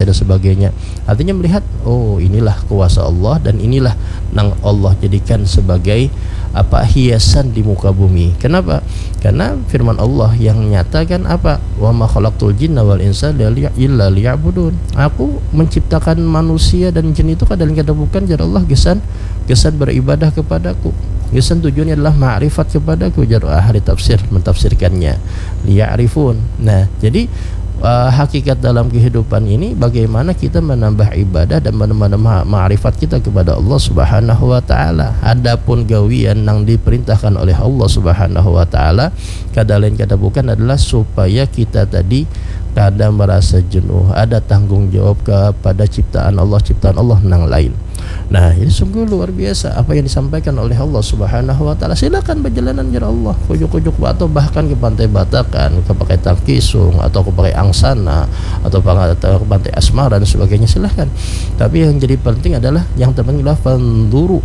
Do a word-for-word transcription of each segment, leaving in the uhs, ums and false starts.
dan sebagainya. Artinya melihat, oh, inilah kuasa Allah dan inilah nang Allah jadikan sebagai apa, hiasan di muka bumi. Kenapa? Karena firman Allah yang nyata kan apa? "Wa ma khalaqtul jinna wal insa illa liya'budun." Aku menciptakan manusia dan jin itu kada lain kada bukan jar Allah gasan gasan beribadah kepadaku. Gasan tujuannya adalah ma'rifat kepadaku, jar ahli tafsir mentafsirkannya. Liya'rifun. Nah, jadi uh, hakikat dalam kehidupan ini bagaimana kita menambah ibadah dan menambah ma'rifat kita kepada Allah Subhanahu wa taala. Adapun gawian yang diperintahkan oleh Allah Subhanahu wa taala kada lain kada bukan adalah supaya kita tadi kada merasa jenuh, ada tanggung jawab kepada ciptaan Allah, ciptaan Allah nang lain. Nah, ini sungguh luar biasa apa yang disampaikan oleh Allah Subhanahu wa taala. Silakan berjalanan jar Allah, kujuk-kujuk atau bahkan ke Pantai Batakan, ke pakai Tangkisung atau ke pakai Angsana atau ke Pantai Asmara dan sebagainya, silahkan. Tapi yang jadi penting adalah, yang terpenting adalah fanzuru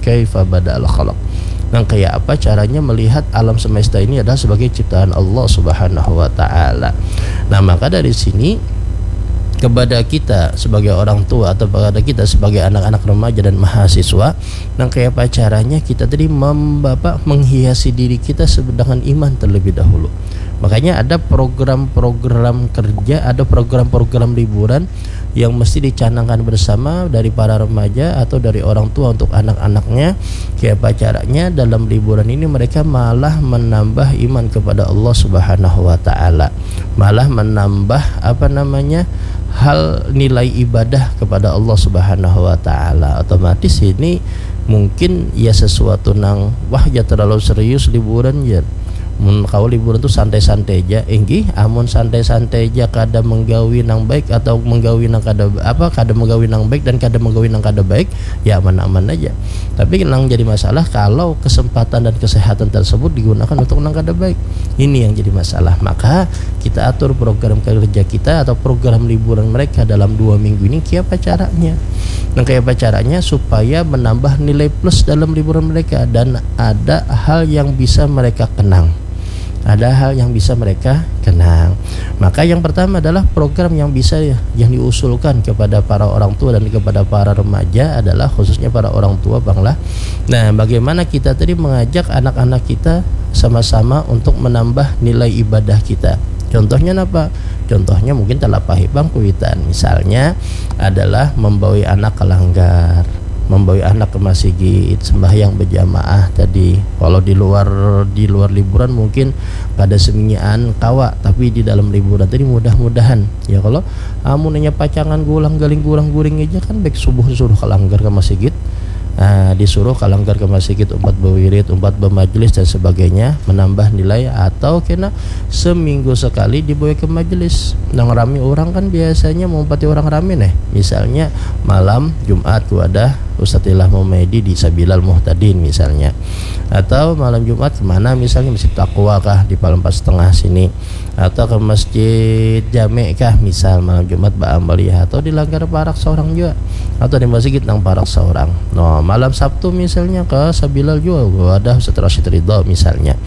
kaifa bada'al khalaq. Nah, kayak apa caranya melihat alam semesta ini adalah sebagai ciptaan Allah Subhanahu wa taala. Nah, maka dari sini kepada kita sebagai orang tua atau kepada kita sebagai anak-anak remaja dan mahasiswa, nang kayak apa caranya kita tadi membapa menghiasi diri kita dengan iman terlebih dahulu. Makanya ada program-program kerja, ada program-program liburan yang mesti dicanangkan bersama dari para remaja atau dari orang tua untuk anak-anaknya. Kayak apa caranya dalam liburan ini mereka malah menambah iman kepada Allah Subhanahu wa taala, malah menambah apa namanya, hal nilai ibadah kepada Allah Subhanahu wa taala. Otomatis ini mungkin ya sesuatu nang wah ya terlalu serius liburan ya. Mun kau liburan tuh santai-santai aja, inggih. Amun santai-santai aja kada menggawi nang baik atau menggawi nang kada apa, kada menggawi nang baik dan kada menggawi nang kada baik, ya aman-aman aja. Tapi nang jadi masalah kalau kesempatan dan kesehatan tersebut digunakan untuk nang kada baik. Ini yang jadi masalah. Maka kita atur program kerja kita atau program liburan mereka dalam dua minggu ini, kayak apa caranya? Nah, kayak apa caranya supaya menambah nilai plus dalam liburan mereka dan ada hal yang bisa mereka kenang, ada hal yang bisa mereka kenang. Maka yang pertama adalah program yang bisa yang diusulkan kepada para orang tua dan kepada para remaja adalah khususnya para orang tua, Bang lah. Nah, bagaimana kita tadi mengajak anak-anak kita sama-sama untuk menambah nilai ibadah kita? Contohnya apa? Contohnya mungkin talapahi bang kuitan. Misalnya adalah membawa anak ke langgar, membawa anak ke masigit, sembahyang berjamaah tadi. Kalau di luar di luar liburan mungkin kada seminyakan kawa, tapi di dalam liburan tadi mudah-mudahan ya kalau amun hanya pacangan gulang galing gurang guring aja kan baik subuh disuruh ke langgar ke masigit. Nah, disuruh ke langgar ke masigit umpat berwirid, umpat bermajelis dan sebagainya, menambah nilai atau kena seminggu sekali dibawa ke majelis. Nang rami orang kan biasanya mau empati orang rami nih. Misalnya malam Jumat ku ada Ustadz Ilham Humaidi di Sabilal Muhtadin misalnya. Atau malam Jumat kemana misalnya, Masjid Taqwa kah di Palem Empat Setengah sini, atau ke Masjid Jame kah misal malam Jumat baamaliah, atau di langgar parak seorang juga, atau di masjid nang parak seorang. No, malam Sabtu misalnya ke Sabilal juga ada Ustadz Rashid Ridho misalnya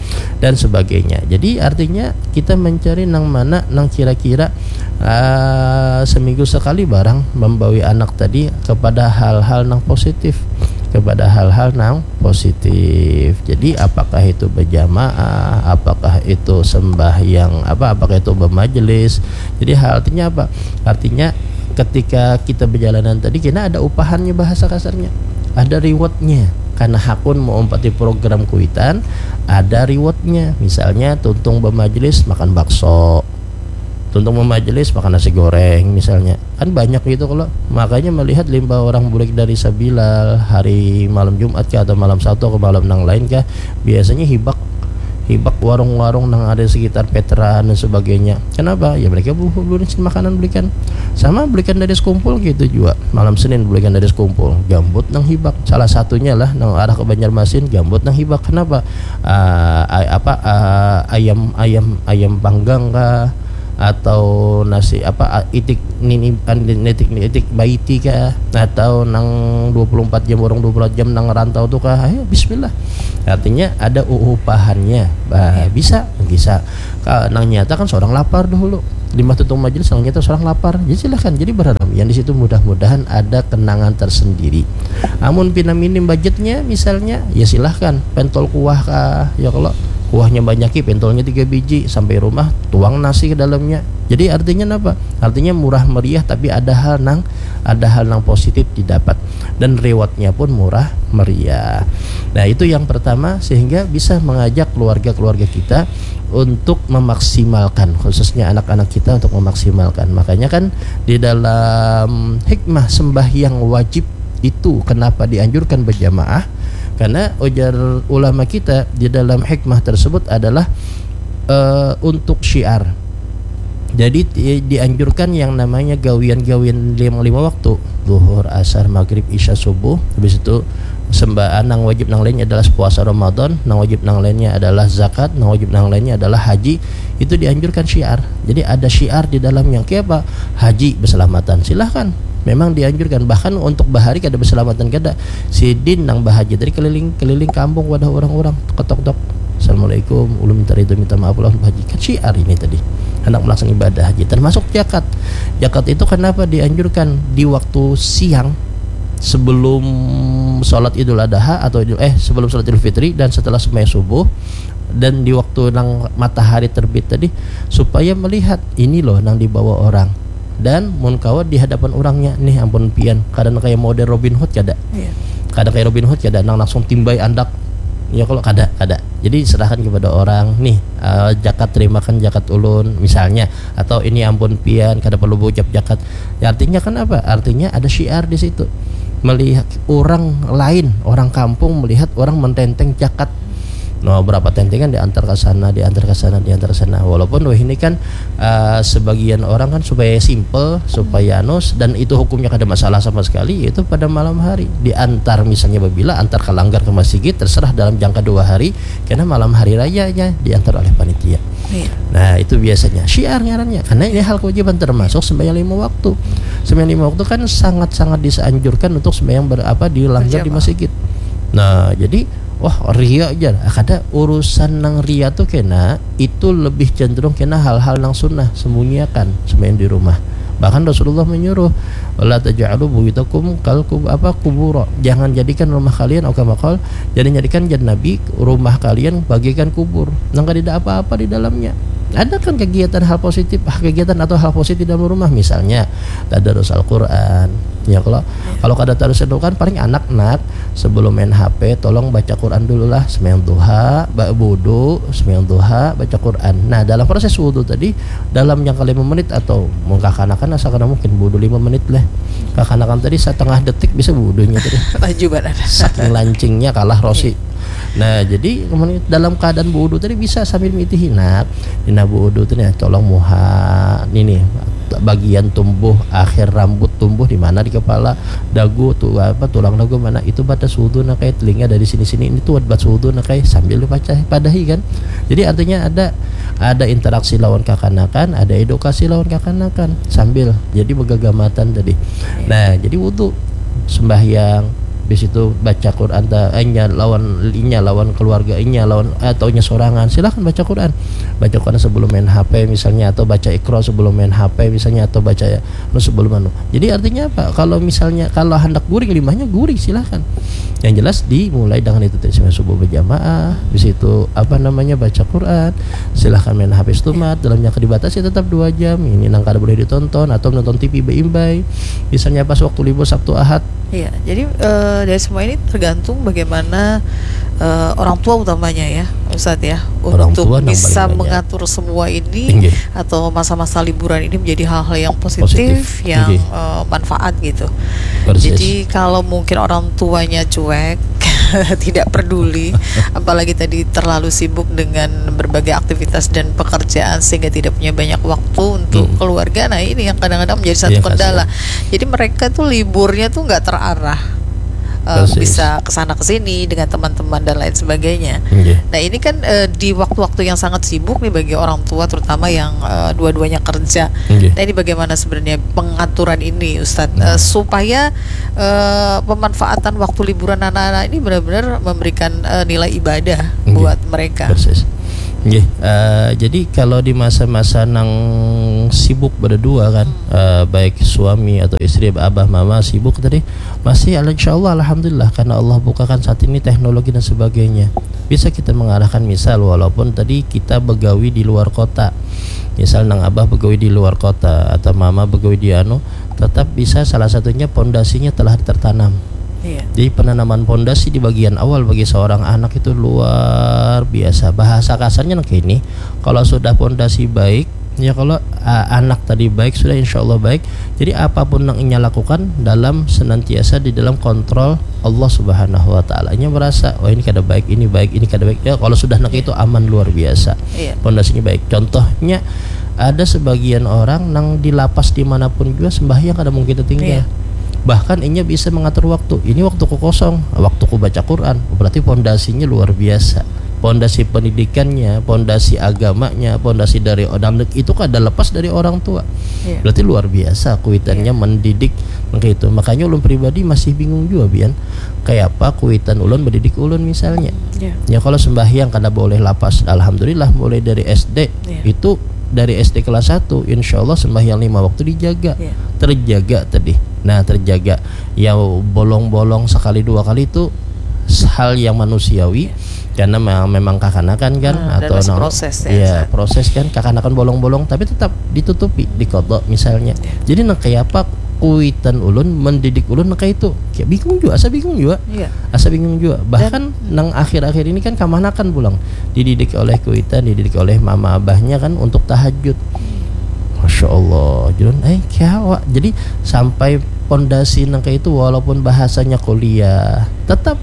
dan sebagainya. Jadi artinya kita mencari nang mana nang kira-kira uh, seminggu sekali barang membawa anak tadi kepada hal-hal nang positif, kepada hal-hal nang positif. Jadi apakah itu berjamaah, apakah itu sembahyang apa, apakah itu bermajelis? Jadi artinya apa? Artinya ketika kita berjalanan tadi kena ada upahannya bahasa kasarnya, ada rewardnya. Karena hakun mau empati program kuitan, ada rewardnya. Misalnya tuntung bermajelis makan bakso, tuntung bermajelis makan nasi goreng misalnya. Kan banyak gitu kalau makanya melihat limbah orang bulik dari Sabilal hari malam Jumat kah atau malam Sabtu atau malam nang lain kah, biasanya hibak hibak warung-warung nang ada sekitar Petra dan sebagainya. Kenapa? Ya mereka belum makanan belikan. Sama belikan dari sekumpul gitu juga. Malam Senin belikan dari sekumpul. Gambut nang hibak. Salah satunya lah nang arah ke Banjarmasin, gambut nang hibak. Kenapa? Uh, apa uh, ayam ayam ayam panggang kah? Atau nasi apa itik nini itik itik baiti kah atau nang dua puluh empat jam orang dua puluh empat jam nang rantau tuh kah, ayo bismillah. Artinya ada upahannya. Bah, bisa bisa. Nang nyata kan seorang lapar dahulu. Limbah tutup majelis, nang nyata surang lapar. Jadi silahkan, jadi berharap yang di situ mudah-mudahan ada kenangan tersendiri. Amun pina minim budgetnya misalnya, ya silahkan, pentol kuah kah, ya kalau kuahnya banyaki, pentolnya tiga biji, sampai rumah tuang nasi ke dalamnya. Jadi artinya apa? Artinya murah meriah tapi ada hal nang ada hal nang positif didapat dan rewardnya pun murah meriah. Nah, itu yang pertama, sehingga bisa mengajak keluarga-keluarga kita untuk memaksimalkan, khususnya anak-anak kita untuk memaksimalkan. Makanya kan di dalam hikmah sembahyang wajib itu kenapa dianjurkan berjamaah, karena ujar ulama kita di dalam hikmah tersebut adalah eh, untuk syiar. Jadi di- dianjurkan yang namanya gawian-gawian lima, lima waktu, zuhur, asar, maghrib, isya, subuh. Habis itu sembah nang wajib nang lainnya adalah puasa Ramadan, nang wajib nang lainnya adalah zakat, nang wajib nang lainnya adalah haji. Itu dianjurkan syiar. Jadi ada syiar di dalam yang kayak apa? Haji berselamatan. Silahkan. Memang dianjurkan, bahkan untuk bahari kada berselamatan kada. Sidin nang bahaji tadi keliling keliling kampung wadah orang-orang, ketok-tok, "Assalamualaikum, ulun minta ridho, minta maaf, ulun bahaji." Kan syiar ini tadi, hendak melaksanakan ibadah haji, termasuk jakat. Jakat itu kenapa dianjurkan di waktu siang sebelum sholat Idul Adha atau Idul, eh sebelum sholat Idul Fitri dan setelah sembahyang subuh, dan di waktu nang matahari terbit tadi, supaya melihat ini loh nang dibawa orang. Dan mun kawa di hadapan orangnya, "Nih ampun pian, kada nang kaya model Robin Hood kada?" Iya. Kada kaya Robin Hood kada, nang langsung timbai andak. Ya kalau kada, kada. Jadi serahkan kepada orang, "Nih, eh, jakat, terimakan jakat ulun," misalnya, atau, "Ini ampun pian, kada perlu berucap jakat." Ya, artinya kan apa? Artinya ada syiar di situ. Melihat orang lain, orang kampung melihat orang mententeng jakat. Nah, berapa tentengan diantar ke sana, diantar ke sana, diantar ke sana. Walaupun wah ini kan eh, sebagian orang kan supaya simple, supaya anu, dan itu hukumnya kada masalah sama sekali, yaitu pada malam hari diantar, misalnya babila antar ke langgar ke masjid, terserah, dalam jangka dua hari, karena malam hari raya aja diantar oleh panitia. Iya. Nah, itu biasanya syiar ngarannya, karena ini hal kewajiban termasuk sembahyang lima waktu. Sembahyang lima waktu kan sangat-sangat dianjurkan untuk sembahyang ber, apa, di langgar di Berjamaah. Masjid. Nah, jadi wah, ria aja. Ah, kada, urusan nang ria tuh kena, itu lebih cenderung kena hal-hal nang sunnah, sembunyiakan sembahyang di rumah. Bahkan Rasulullah menyuruh, "La taj'alu buyutakum kal kub, apa, kubura." Jangan jadikan rumah kalian, au kama qal, jangan jadikan, jar Nabi, rumah kalian bagaikan kubur. Nang kadada apa-apa di dalamnya. Ada kan kegiatan hal positif, ah, kegiatan atau hal positif dalam rumah, misalnya tadarus Al-Quran. Ya kalau kalau kada tadarus Al-Quran, paling anak-anak sebelum main H P, tolong baca Quran dulu lah, sembahyang duha, ba, wudu, sembahyang duha, baca Quran. Nah, dalam proses wudu tadi, dalam jangka lima menit atau mun kakanakan asa kada mungkin wudu lima menit lah. Kakanakan tadi setengah detik bisa wudunya tadi. Laju banget. Saking lancingnya kalah Rosi. Nah, jadi kemudian dalam keadaan wudu tadi bisa sambil miti hinak. Dina wudu tu nih, tolong muha, ini nih, bagian tumbuh, akhir rambut tumbuh di mana, di kepala, dagu tu apa, tulang dagu mana, itu batas wudu nak ai, telinga dari sini-sini, ini tuh batas wudu nak ai, sambil dibaca, padahi kan. Jadi artinya ada ada interaksi lawan kakanakan, ada edukasi lawan kakanakan sambil jadi begagamatan tadi. Nah, jadi wudu, sembahyang, habis itu baca Quran ta, inya lawan inya lawan keluarga inya lawan atau inya sorangan, silahkan baca Quran. Baca Quran sebelum main H P misalnya, atau baca Iqra sebelum main H P misalnya, atau baca anu sebelum anu. Jadi artinya apa? Kalau misalnya kalau hendak guring limahnya guring, silahkan. Yang jelas dimulai dengan itu tadi, sembahyang subuh berjamaah, habis itu apa namanya, baca Quran, silahkan main H P setumat dalam jangka dibatasi tetap dua jam. Ini nang kada boleh ditonton atau menonton T V beimbai. Misalnya pas waktu libur Sabtu Ahad. Iya, jadi eh, dari semua ini tergantung bagaimana eh, orang tua utamanya ya, Ustadz ya, Orang untuk tua nang bisa paling banyak. Mengatur semua ini Inggih. Atau masa-masa liburan ini menjadi hal-hal yang positif, Positif. Yang Inggih. eh, manfaat gitu. Persis. Jadi kalau mungkin orang tuanya cuek, tidak peduli, apalagi tadi terlalu sibuk dengan berbagai aktivitas dan pekerjaan sehingga tidak punya banyak waktu untuk Hmm. Keluarga. Nah, ini yang kadang-kadang menjadi satu Iya, kendala. kasihan. Jadi mereka tuh liburnya tuh nggak terarah. Eh, Persis. Bisa ke sana ke sini dengan teman-teman dan lain sebagainya. Inggih. Nah, ini kan eh, di waktu-waktu yang sangat sibuk nih bagi orang tua, terutama yang eh, dua-duanya kerja. Inggih. Nah, ini bagaimana sebenarnya pengaturan ini, Ustadz, Nah. Eh, supaya eh, pemanfaatan waktu liburan anak-anak ini benar-benar memberikan eh, nilai ibadah Inggih. Buat mereka? Persis. Nggih, eh, jadi kalau di masa-masa nang sibuk berdua kan, eh, baik suami atau istri, abah mama sibuk tadi, masih al- insya Allah alhamdulillah karena Allah bukakan saat ini teknologi dan sebagainya. Bisa kita mengarahkan misal walaupun tadi kita begawi di luar kota. Misal nang abah begawi di luar kota atau mama begawi di anu, tetap bisa salah satunya pondasinya telah tertanam. Iya. Jadi penanaman pondasi di bagian awal bagi seorang anak itu luar biasa. Bahasa kasarnya nang kini, kalau sudah pondasi baik, ya kalau uh, anak tadi baik sudah insya Allah baik. Jadi apapun yang inya lakukan dalam senantiasa di dalam kontrol Allah Subhanahu wa taala. Inya merasa, "Oh, ini kada baik, ini baik, ini kada baik." Ya kalau sudah nang itu aman luar biasa. Iya. Pondasinya baik. Contohnya ada sebagian orang nang di lapas dimanapun juga sembahyang kada mungkin tertinggal. Iya. Bahkan inya bisa mengatur waktu. Ini waktuku kosong, waktuku baca Quran. Berarti pondasinya luar biasa. Pondasi pendidikannya, pondasi agamanya, pondasi dari dan itu kada lepas dari orang tua. Iya. Berarti luar biasa kuitannya Iya. mendidik kayak itu. Makanya ulun pribadi masih bingung juga, Bian. Kayak apa kuitan ulun mendidik ulun misalnya. Iya. Ya kalau sembahyang kada boleh lapas, alhamdulillah mulai dari S D Iya. itu dari S D kelas satu insya Allah sembahyang lima waktu dijaga. Iya. Terjaga tadi. Nah, terjaga. Ya bolong-bolong sekali dua kali itu hal yang manusiawi karena me- memang kakanakan kan Ah, dan atau masih nang- proses ya, ya Ustaz. Proses kan kakanakan bolong-bolong tapi tetap ditutupi dikodok misalnya. Iya. Jadi nang kayak apa kuitan ulun mendidik ulun nang kayak itu kayak bingung juga, asa bingung juga. Iya. Asa bingung juga. Bahkan nang akhir-akhir ini kan kamanakan pulang dididik oleh kuitan, dididik oleh mama abahnya kan untuk tahajud. Masya Allah, Jun, eh kiawa. Jadi sampai pondasi nang kayak itu walaupun bahasanya kuliah, tetap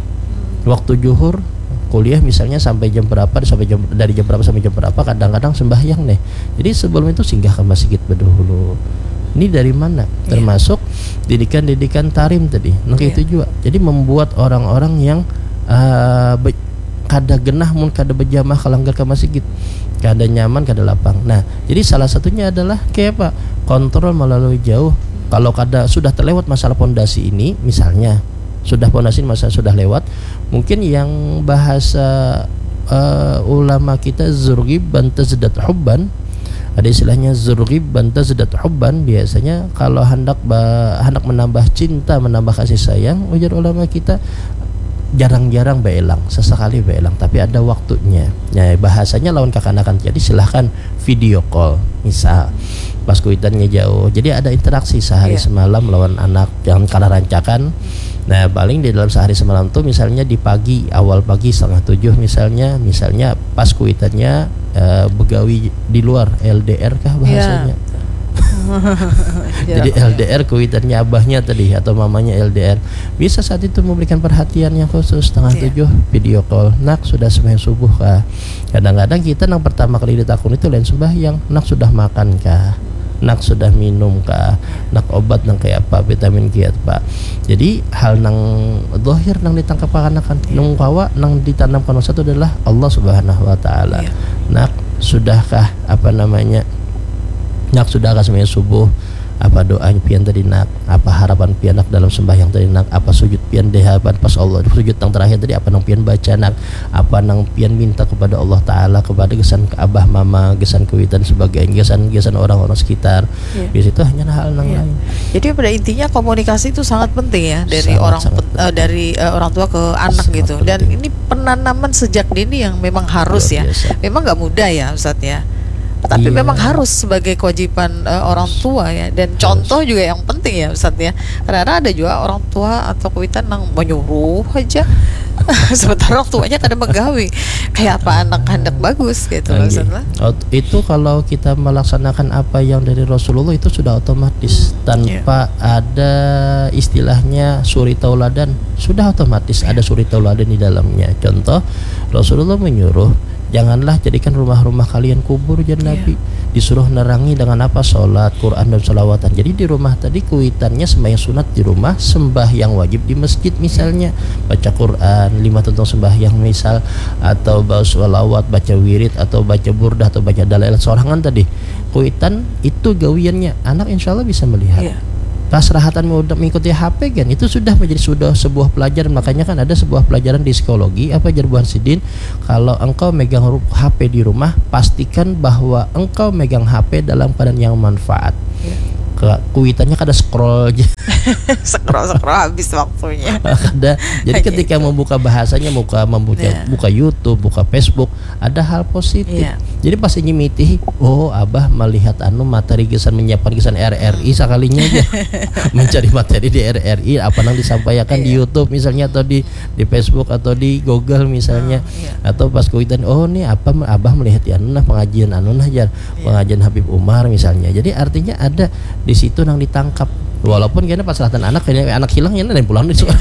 waktu juhur kuliah misalnya sampai jam berapa sampai jam dari jam berapa sampai jam berapa kadang-kadang sembahyang nih. Jadi sebelum itu singgah ke masjid berdahulu. Ini dari mana? Termasuk didikan-didikan tarim tadi. Nang kayak Iya. Itu juga. Jadi membuat orang-orang yang uh, be- kada genah mun kada berjamaah ke langgar ke masjid. Kada nyaman, kada lapang. Nah, jadi salah satunya adalah kayak apa? Kontrol melalui jauh. Kalau kada sudah terlewat masalah pondasi ini, misalnya sudah pondasi ini masa sudah lewat, mungkin yang bahasa uh, ulama kita zurgib bantazdat hubban, ada istilahnya zurgib bantazdat hubban. Biasanya kalau hendak ba, hendak menambah cinta, menambah kasih sayang, ujar ulama kita jarang-jarang beelang, sesekali beelang, tapi ada waktunya. Ya, bahasanya lawan kakanakan. Jadi silahkan video call, misal pas kuitannya jauh. Jadi ada interaksi sehari Iya. Semalam lawan anak yang kala rancakan. Nah, paling di dalam sehari semalam tuh misalnya di pagi, awal pagi setengah tujuh misalnya, misalnya pas kuitannya eh, begawi di luar, L D R kah bahasanya? Iya. Jadi Jarak. L D R kuitannya abahnya tadi atau mamanya L D R. Bisa saat itu memberikan perhatian yang khusus setengah Iya. tujuh video call. Nak sudah sembahyang subuh kah? Kadang-kadang kita nang pertama kali ditakun itu lain sembahyang. Nak sudah makan kah? Nak sudah minum kah? Nak obat nang kayak apa? Vitamin kiat pak. Jadi hal nang dohir nang ditangkap kakanakan. Nung kawa nang ditanamkan masa itu adalah Allah Subhanahu Wa Taala. Iya. Nak sudahkah apa namanya? Nak sudahkah sembahyang subuh? Apa doa pian tadi nak? Apa harapan pian nak dalam sembahyang tadi nak? Apa sujud pian di hadapan pas Allah? Sujud yang terakhir tadi apa nang pian baca nak? Apa nang pian minta kepada Allah Taala, kepada gesan ke abah mama, gesan kuitan sebagainya, gesan gesan orang-orang sekitar. Iya. Di situ hanya hal nang Iya. lain. Jadi pada intinya komunikasi itu sangat penting ya dari Sangat, orang sangat pen- eh, dari eh, orang tua ke anak Sangat gitu. Dan penting. Ini penanaman sejak dini yang memang harus Luar ya. Biasa. Memang nggak mudah ya, Ustadz ya. Tapi Iya. Memang harus sebagai kewajiban eh, orang tua ya. Dan contoh juga yang penting ya, Ustadz ya. Karena ada juga orang tua atau kuitan yang menyuruh aja. Sementara orang tuanya kada menggawi. Kayak apa anak hendak bagus gitu loh, Anggih. Ustadz lah. Ot- Itu kalau kita melaksanakan apa yang dari Rasulullah itu sudah otomatis Hmm, tanpa ada istilahnya suri tauladan, sudah otomatis ada suri tauladan di dalamnya. Contoh, Rasulullah menyuruh janganlah jadikan rumah-rumah kalian kubur, jar Iya. Nabi. Disuruh nerangi dengan apa? Salat, Quran dan salawatan. Jadi di rumah tadi kuitannya sembahyang sunat di rumah, sembahyang wajib di masjid misalnya, baca Quran, lima tentang sembahyang misal, atau baca salawat, baca wirid atau baca burdah atau baca dalail sorangan tadi. Kuitan itu gawiannya, anak insya Allah bisa melihat. Iya. Pas rahatan mengikuti H P kan, itu sudah menjadi sudah sebuah pelajaran. Makanya kan ada sebuah pelajaran di psikologi, apa jar buhan sidin, kalau engkau megang HP di rumah, pastikan bahwa engkau megang HP dalam keadaan yang manfaat. Ya. Kuitannya kada scroll aja. Scroll scroll habis waktunya. Kada. Jadi ketika itu. Membuka bahasanya, buka membuka ya. Buka YouTube, buka Facebook, ada hal positif. Ya. Jadi pas ini mitih, oh abah melihat anu materi gasan menyiapkan gasan R R I sekalinya aja. Mencari materi di R R I apa yang disampaikan ya. Di YouTube misalnya atau di di Facebook atau di Google misalnya. Oh, ya. Atau pas kuitan, oh nih apa abah melihat ya anu nah pengajian anu nah jar. Ya. Pengajian Habib Umar misalnya. Jadi artinya ada di situ yang ditangkap. Walaupun kena pas rahatan anak, kena anak hilang ya dan pulang di sekolah.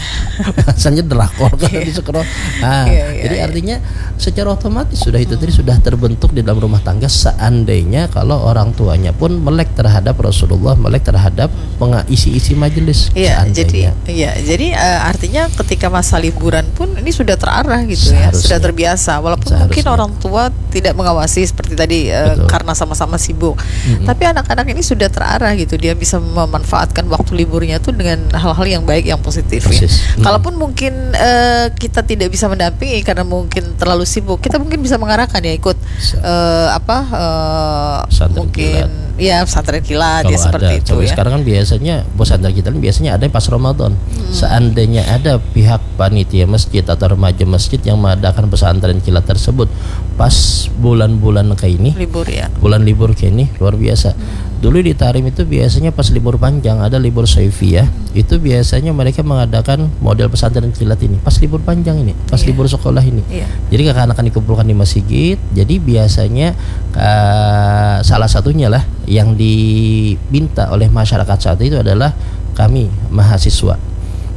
Rasanya drakor kan di sekolah. Nah, iya, iya, jadi iya. Artinya secara otomatis sudah itu tadi sudah terbentuk di dalam rumah tangga seandainya kalau orang tuanya pun melek terhadap Rasulullah, melek terhadap penga- isi-isi majelis. Iya, jadi iya, jadi uh, artinya ketika masa liburan pun ini sudah terarah gitu ya, sudah terbiasa. Walaupun seharusnya. Mungkin orang tua tidak mengawasi seperti tadi uh, karena sama-sama sibuk. Mm-hmm. Tapi anak-anak ini sudah terarah gitu, dia bisa memanfaatkan waktu liburnya tuh dengan hal-hal yang baik, yang positif. Ya. Hmm. Kalaupun mungkin uh, kita tidak bisa mendampingi karena mungkin terlalu sibuk, kita mungkin bisa mengarahkan ya ikut uh, apa uh, mungkin kilat. Ya pesantren kilat. Kalau ya seperti ada, itu ya. Sekarang kan biasanya pesantren kilat biasanya ada pas Ramadan. Hmm. Seandainya ada pihak panitia masjid atau remaja masjid yang mengadakan pesantren kilat tersebut pas bulan-bulan kayak ini, libur ya. Bulan libur kayak ini luar biasa. Hmm. Dulu di Tarim itu biasanya pas libur panjang ada libur soifiyah, itu biasanya mereka mengadakan model pesantren kilat ini pas libur panjang ini, pas iya. Libur sekolah ini. Iya. Jadi kakak-kakak dikumpulkan di masjid. Jadi biasanya uh, salah satunya lah yang diminta oleh masyarakat saat itu adalah kami mahasiswa.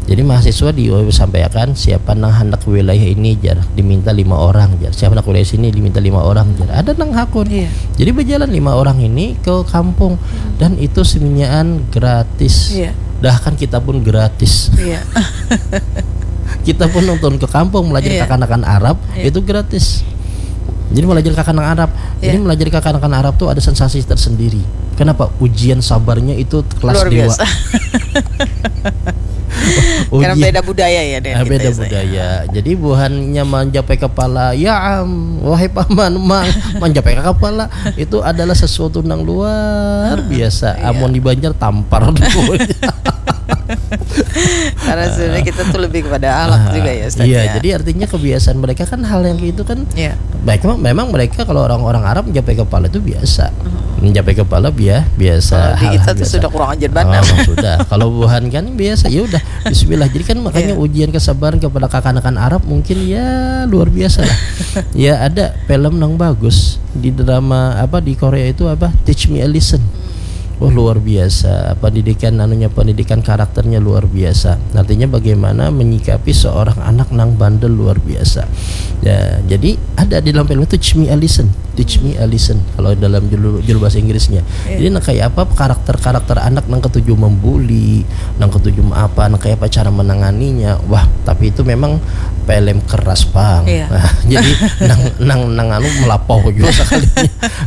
Jadi mahasiswa disampaikan siapa nang hendak wilayah ini jar diminta lima orang jar, siapa hendak wilayah sini diminta lima orang jar, ada nang hakun. Iya. Jadi berjalan lima orang ini ke kampung dan itu seminyaan gratis. Iya. Bahkan kita pun gratis. Iya. Kita pun nonton ke kampung melajari iya. Kakanakan Arab iya. Itu gratis. Jadi melajari kakanakan Arab. Iya. Jadi melajari kakanakan Arab tuh ada sensasi tersendiri. Kenapa? Ujian sabarnya itu kelas luar biasa. Karena beda budaya ya dengan ah, beda budaya. Jadi buhannya mencapai kepala, ya am, wahai paman, mang, mencapai ke kepala itu adalah sesuatu yang luar biasa. Iya. Amun di Banjar tampar. Karena sebenarnya kita tuh lebih kepada alat uh, juga ya Ustaz. Iya, ya. Jadi artinya kebiasaan mereka kan hal yang itu kan. Iya. Baik memang mereka kalau orang-orang Arab mencapai kepala itu biasa. Hmm. Mencapai kepala biasa. Kalau di kita tuh sudah kurang ajar banget. Oh, sudah. Kalau buhan kan biasa ya udah bismillah. Jadi kan makanya iya. Ujian kesabaran kepada kakanakan Arab mungkin ya luar biasa lah. Ya ada film yang bagus di drama apa di Korea itu apa Teach Me a Lesson. Hmm. Oh luar biasa pendidikan anunya pendidikan karakternya luar biasa. Artinya bagaimana menyikapi seorang anak nang bandel luar biasa. Ya, jadi ada di dalam film itu Teach Me a Lesson. Teach Me a Lesson kalau dalam judul, judul bahasa Inggrisnya. Yeah. Jadi nah kayak apa karakter-karakter anak nang ketujuh membuli, nang ketujuh apa, nang kayak apa cara menanganinya. Wah, tapi itu memang film keras bang. Yeah. Nah, jadi nang nang nang anu melapau juga sekali.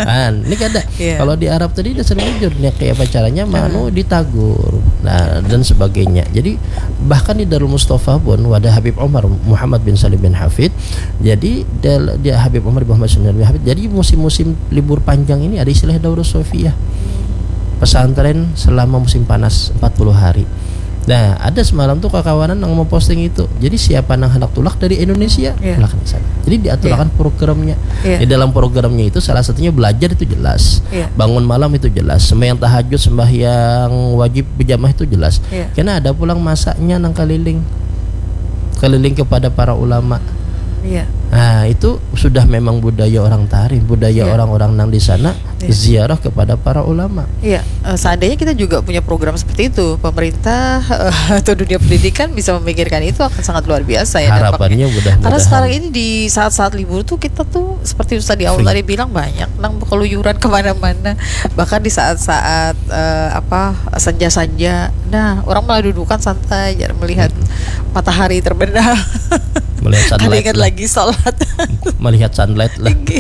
Nah, ini kada. Yeah. Kalau di Arab tadi dasar jujur nih kayak apa caranya manu hmm. Ditagur. Nah, dan sebagainya. Jadi bahkan di Darul Mustafa pun wadah Habib Umar Muhammad bin Salim bin Hafid. Jadi dia, dia Habib Umar bin Muhammad bin Salim bin Hafid. Jadi musim-musim libur panjang ini ada istilah daurah sofiyah. Pesantren selama musim panas empat puluh hari. Nah, ada semalam tuh kakawanan yang mau posting itu. Jadi siapa yang hendak tulak dari Indonesia, yeah. Tulak di sana. Jadi diaturakan yeah. Programnya. Yeah. Di dalam programnya itu salah satunya belajar itu jelas. Yeah. Bangun malam itu jelas. Sembahyang tahajud, sembahyang wajib berjamaah itu jelas. Yeah. Karena ada pulang masanya nang keliling. Keliling kepada para ulama. Yeah. Nah, itu sudah memang budaya orang Tarim, budaya yeah. Orang-orang nang di sana. Iya. Ziarah kepada para ulama. Iya, eh, seandainya kita juga punya program seperti itu, pemerintah eh, atau dunia pendidikan bisa memikirkan itu akan sangat luar biasa ya. Harapannya mudah-mudahan. Karena sekarang ini di saat-saat libur tuh kita tuh seperti Ustaz di awal tadi bilang banyak nang keluyuran kemana-mana. Bahkan di saat-saat eh, apa senja-senja, nah orang malah dudukan santai, melihat hmm. Matahari terbenam. Melihat Kada sunlight ingat lah. Lagi sholat. Melihat sunlight lah. Tinggi.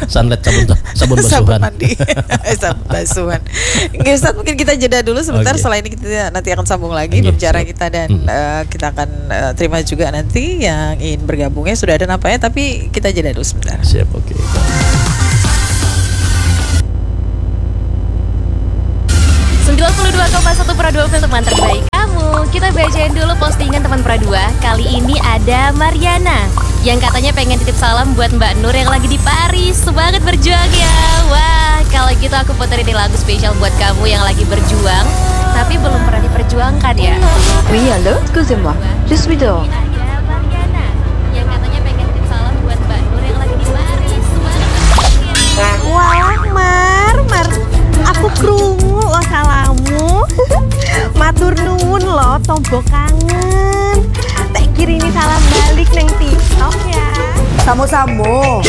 Sunlight sabun sabun Sabun basuhan. Mandi. Eh, sabun basuhan. Oke, Ustaz, mungkin kita jeda dulu sebentar. Oke. Setelah ini kita nanti akan sambung lagi Oke, berbicara siap. Kita dan Hmm. eh, kita akan eh, terima juga nanti yang ingin bergabungnya sudah ada nampaknya, tapi kita jeda dulu sebentar. Siap, oke. Sembilan puluh dua koma satu Pro dua Film, teman terbaik kamu. Kita bacain dulu postingan teman Pro dua. Kali ini ada Mariana yang katanya pengen titip salam buat Mbak Nur yang lagi di Paris. Semangat berjuang ya. Wah, kalau gitu aku puterin nih lagu spesial buat kamu yang lagi berjuang tapi belum pernah diperjuangkan ya. Oui, allô, excusez-moi, je suis dehors. Ada Mariana yang katanya pengen titip salam buat Mbak Nur yang lagi di Paris. Semangat berjuang ya. Wah, Mar, Mar, aku krungu lo salammu. Matur nuwun lo, tombo kangen. Tak kirini salam balik neng TikTok ya. Samo-samo.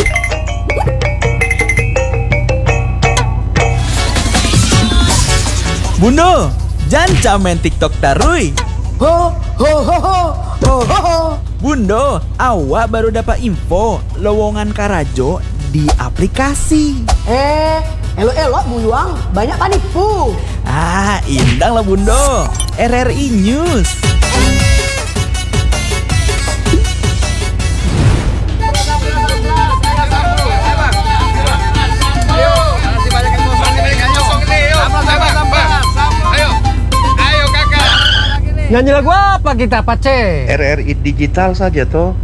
Bundo, jangan main TikTok tarui. Ho ho ho ho ho ho ho. Bundo, awak baru dapat info lowongan karajo di aplikasi. Eh, elok-elok buyuang, banyak panipu. Ah, indang lah Bundo. R R I News. Nyanyi lagu apa kita, Pace? R R I digital saja toh.